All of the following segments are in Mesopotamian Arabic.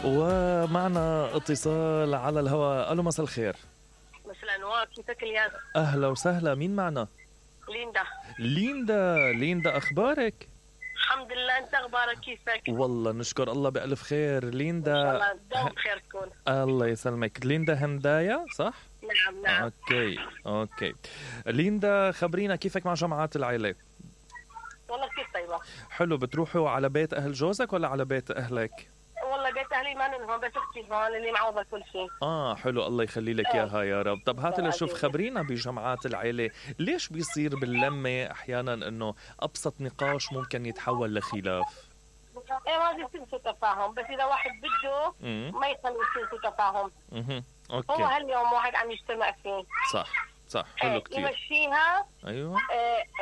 ومعنا اتصال على الهواء. الو مساء الخير. مساء الانوار، كيفك الياس؟ اهلا وسهلا، مين معنا؟ ليندا اخبارك؟ الحمد لله، انت اخبارك كيفك؟ والله نشكر الله بألف خير. ليندا ان شاء الله دوم بخير تكون. الله يسلمك. ليندا هندايا صح؟ نعم. اوكي ليندا، خبرينا كيفك مع جمعات العيلة؟ والله كثير طيبة. حلو. بتروحوا على بيت اهل جوزك ولا على بيت اهلك؟ والله بيت اهلي ما هون، بس اختي هون اللي معوضة كل شيء. حلو، الله يخلي لك اياها يا رب. طب هات لشوف، خبرينا بجمعات العيلة ليش بيصير باللمة احيانا انه ابسط نقاش ممكن يتحول لخلاف؟ ما بيصير سوء تفاهم، بس اذا واحد بده ما يخلي يصير سوء تفاهم. اوكي. هو هاليوم واحد عم يجتمع فيه. صح حلو كتير. يمشيها. ايوه.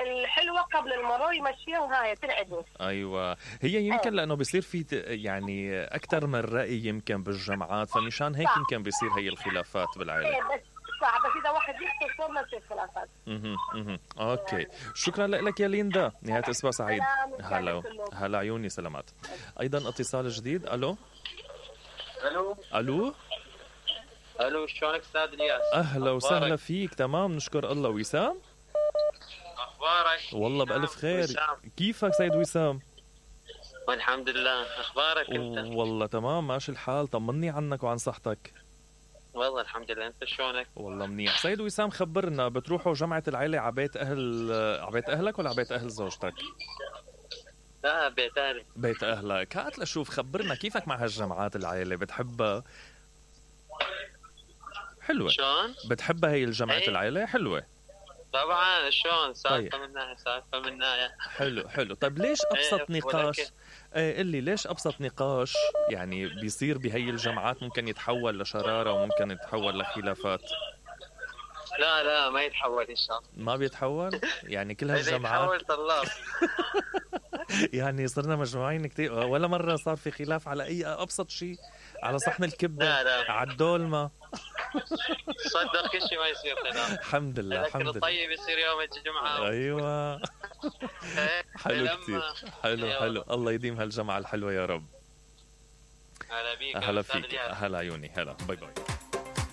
الحلوة قبل المرور يمشيها وهاي تنعدل. ايوه، هي يمكن لانه بيصير في يعني اكثر من رأي يمكن بالجمعات، فمشان هيك يمكن بيصير هي الخلافات بالعائلة. بس صح، بس اذا واحد يختصر ما تصير خلافات. اوكي، شكرا لك يا ليندا، نهاية اسبوع سعيد. هلا عيوني، سلامات. ايضا اتصال جديد. الو، شلونك استاذ الياس؟ اهلا وسهلا فيك. تمام نشكر الله. وسام، اخبارك؟ والله بألف خير. وسام. كيفك سيد وسام؟ والحمد لله، اخبارك انت؟ والله تمام ماشي الحال. طمني عنك وعن صحتك. والله الحمد لله، انت شلونك؟ والله منيح. سيد وسام، خبرنا، بتروحوا جمعة العيلة على بيت اهلك ولا على بيت اهل زوجتك؟ لا، بيت اهلي. بيت اهلك. هات لشوف، خبرنا كيفك مع هالجمعات العيلة، بتحبها؟ حلوة. شلون؟ بتحبها هي الجمعة العيلة؟ حلوة طبعا. شلون؟ سالفة منها حلو. طيب ليش ابسط نقاش اللي ليش ابسط نقاش يعني بيصير بهي الجمعات ممكن يتحول لشرارة وممكن يتحول لخلافات؟ لا ما يتحول ان شاء الله. ما بيتحول يعني كل هالجمعات؟ يتحول طلاب. يعني صرنا مجموعين كتير، ولا مرة صار في خلاف على اي ابسط شيء؟ على صحن الكبة؟ لا. على الدولمة؟ صدق كل شيء ما يصير خلاف. الحمد لله. الطيب يصير يوم الجمعة. ايوه. حلو كتير. حلو. الله يديم هالجمعة الحلوة يا رب. هلا بيك. هلا فيك. هلا عيوني. هلا، باي باي.